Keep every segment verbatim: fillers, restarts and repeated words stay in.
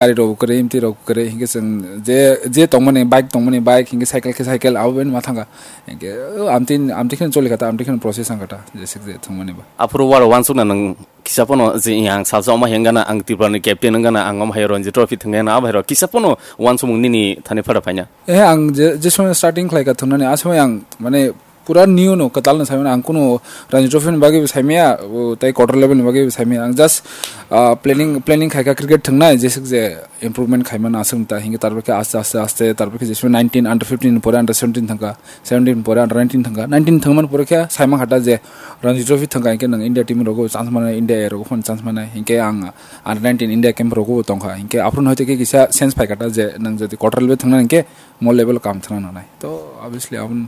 gari rok kwrwi, mtwi rok kwrwi, hinkhe chwng je, je tongmani, bike tongmani, bike, hinkhe cycle khe cycle, abo bai ma thangkha. Hinkhe, o, amtwi, amtwi kheno choli kha ta, amtwi kheno process wng kha ta, jeswk je thwngmani ba. Aphuru waro wansukna nwng kisa phano je ang salsa omo hengana, ang Tripura ni captain wngana, ang omo hai Ranji Trophy thwngna, abo hai rok kisa phano wansukmung nini thani phada phaina? Eh, ang je, je somoy starting khlai kha thwngnani, a somoy ang, mane, pura new no, kwtal no saimano, ang kunu Ranji Trophy ni bagwi bo saimaya, o, tei quarter level ni bagwi bo saimaya. Ang just, ah, planning, planning khai kha cricket thwngnai, jeswk je improvement khaimano aswk ta, hinkhe tarpore khe aste, aste, aste, tarpore khe je somoy nineteen, under fifteen ni pore under seventeen thangkha, seventeen ni pore under nineteen thangkha, nineteen thangmani pore khe saimang kha ta je Ranji Trophy thangkha, hinkhe nwng India team rogo chance manai, India A rogo phano chance manai, hinkhe ang under nineteen India camp rogo tongkha, hinkhe aphuru no hoite khe kisa sense phai kha ta je nwng jodi quarter level thwngna hinkhe mo level o kam thwngna nangnai. To obviously aboni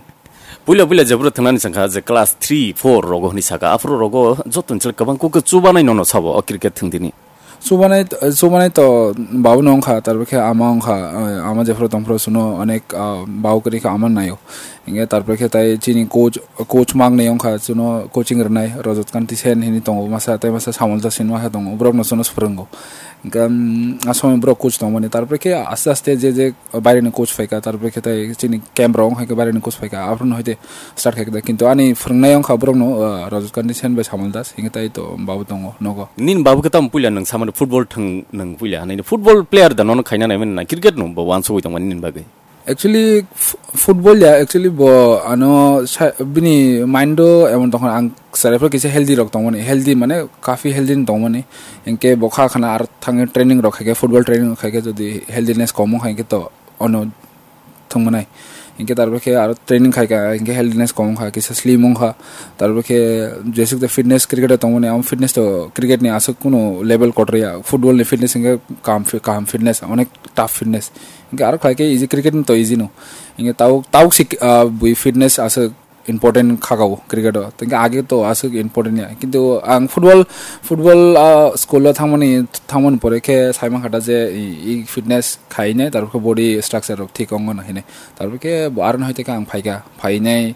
Puila puila jephuru thwngnani chwngkha je class three, four rogo hwnwi saka, aphuru rogo jotoni chwla kwbang kok chubanai nono sabo o cricket thwngdini. Chubanai, chubanai to babu no wngkha, tarpore khe ama wngkha, eh, ama jephuru tongphuru suno onek, ah, babu kwrwi khe ama naio. Hinkhe tarpore khe tai chini coach, coach mang ni wngkha, suno coaching rwnai Rajat Kanti Sen hini tongo, masa tei masa Samol Dasin masa tongo, borok no suno swrwngo. Hinkhe, mm, a somoy borok coach tongmani, tarpore khe aste aste je je baireni coach phaikha, tarpore khe tai chini camp rok wngkha khe baireni coach phaikha, aphuru no hoite start khaikha, kintu ani phwrwngnai wngkha borokno, ah, Rajat Kanti Sen bai Samol Das, hinkhe tai to babu tongo nogo. Nini babu khe tamo puila nwng samani football thwng nwng puila hinwi football player da nono khaina naimani na cricket no bo wansugwi tongmani nini bagwi? Actually, f-, football ya, actually bo ano sa-, bini mind o emon tongkha, ang chwrai phano kisa healthy rok tongmani, healthy mane kafi healthy no tongmani, hinkhe bo kha khana aro thangwi training rok khaikhe, football training rok khaikhe jodi healthiness kom wngkha hinkhe to ono thwngmani. Hinkhe tarpore khe aro training khaikha, hinkhe healthiness kom wngkha, kisa slim wngkha. Tarpore khe jeswk de fitness cricket o tongmani, amo fitness to cricket ni aswk kunu level kotor ya. Football ni fitness hinkhe kaham fi-, kaham fitness, onek tough fitness. Hinkhe aro khlaikhe easy, cricket ni to easy no. Hinkhe tabuk, tabuk si, ah, bui fitness aswk important khagao cricket o. Tei age to aswk important ya. Kintu ang football, football, ah, school o thangmani, thangmani pore khe saimang kha ta je i, i fitness khaine, tarpore khe body structure rok thik wngo na hine. Tarpore khe bo aro no hoite khe ang phaikha, phainai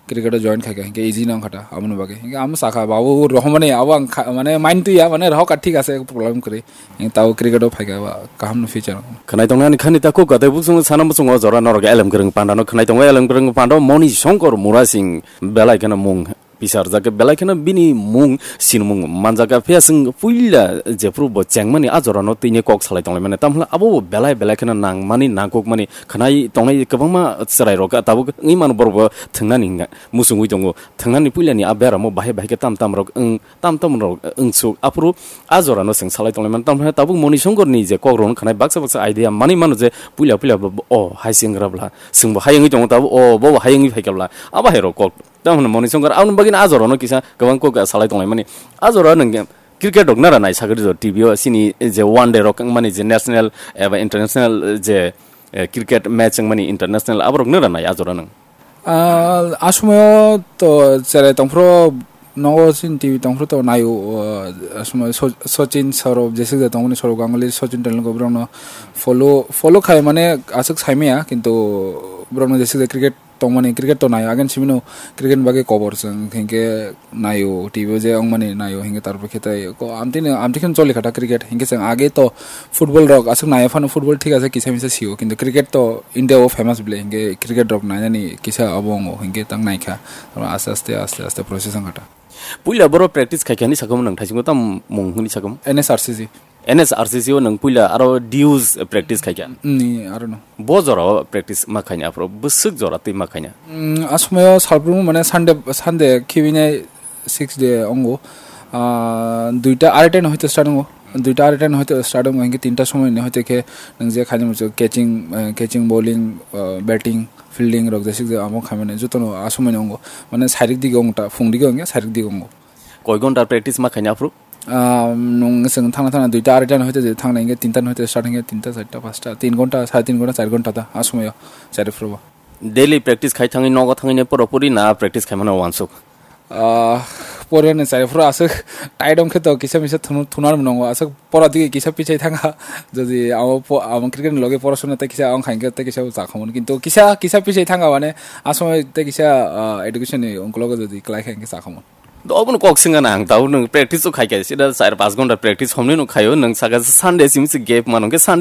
cricket o join khaikha, hinkhe easy no wngkha ta, aboni bagwi. Hinkhe amo sakha, babu rohormani, abo ang kha-, mane mind twi ya, mane rohor kha thik ase, problem kwrwi. Ang tao cricket o phaikha ba kaham no future. Khwnai tongnani khani ta kok katai buksong sana buksong o jora norok elem kwrwng panda no khwnai tongo, elem kwrwng panda Moni Shankar Murasing belai kheno mung pisarjak, belai kheno bini mung sinmung manjak. Phiya chwng puila jephuru bo chengmani a jora no tini kok salai tonglaimani, tamhla abo bo belai belai kheno nangmani nangkukmani khwnai tongnai kwbangma chwrai rok tabuk wngwi mano borok bo thwngnani hwnga muchungwi tongo, thwngnani puilani a beramo bahai bahai khe tam tam rok wng tam tam rok wngsuk. Aphuru a jora no chwng salai tonglaimani, tamni tabuk Moni Shankar ni je kok rok no khwnai baksa baksa idea manwi mano je puila puila bo, o hai se wngkha bla, chwng bo hai wngwi tongo tabuk, o bo bo hai wngwi phaikha bla, abo hai rok kok. Tamni Moni Shankar aboni bagwi no a jora no kisa kwbang kok salai tonglaimani. A jora no cricket rok nara nai sagri jo T V o, chini je one day rok wngmani je national eba international je, eh, cricket match wngmani international aborok nara nai a jora no. Ah, a somoyo to cherai tongphuru nogo chini T V tongphuru to naio, ah, a somoyo So-, Sachin Saurabh, jeswk je tongmani Saurabh Ganguly, Sachin Tendulkar borokno follow, follow khai mane aswk saimaya, kintu borokno jeswk je cricket tongmani, cricket to naio, again simino cricket ni bagwi kobor chwng hinkhe naio T V o je wngmani naio hinkhe tarpore khe tai ko amtwino, amtwi kheno choli kha ta cricket, hinkhe chwng age to football rok aswk naiya phano football thik ase kisa misa sio, kintu cricket to India o famous bile, hinkhe cricket rok nainani kisa abo wngo, hinkhe tang naikha. Tamo aste aste, aste aste process wngkha ta. Puila boro practice khai khai hinwi sakhamu nwng thaisingo tam mung hinwi sakhamu? N S R C C. N S R C C o nwng puila aro dues practice khai kha? Ni, aro no. Bo jora o practice ma khaina aphuru bwswk jora twi ma khaina? Mm, a somoyo salbrum mane Sunday, Sunday khibinai six day ongo, ah, duita arai ten hoite start ongo, duita arai ten hoite start ongo, hinkhe tinta somoi ni hoite khe nwng je khaini muchung catching, eh, catching, bowling, eh, batting, fielding rok jeswk je amo khaimani jotono a somoi ni ongo, mane sairik dige ongta, phung dige ongya sairik dige ongo. Koi ghonta practice ma khaina aphuru? Ah, nwng chwng thangna thangna duita arai ten hoite je thangna hinkhe tinta hoite start hinkhe tinta, charta, pasta, tin ghonta, sare tin ghonta, char ghonta ta a somoyo chari phuru bo. Daily practice khai thangwi nogo thangwi ne pura puri na practice khai mano wansuk? Ah, pore ni chari phuru aswk tight wngkhe to kisa misa thunu-, thunar mwnango aswk pora digi kisa pichai thanga. Jodi amo po-, amo cricket ni loge porasona tei kisa wng khainke tei kisa bo chakhamon. Kintu kisa, kisa pichai thanga mane a somoy tei kisa, ah, education ni ungkulogo jodi klai khainke chakhamon. Obono kok singana ang tau nwng practice o khaikha sida char panch ghonta practice homni no khaio nwng saka Sunday simi se gap mano ke Sunday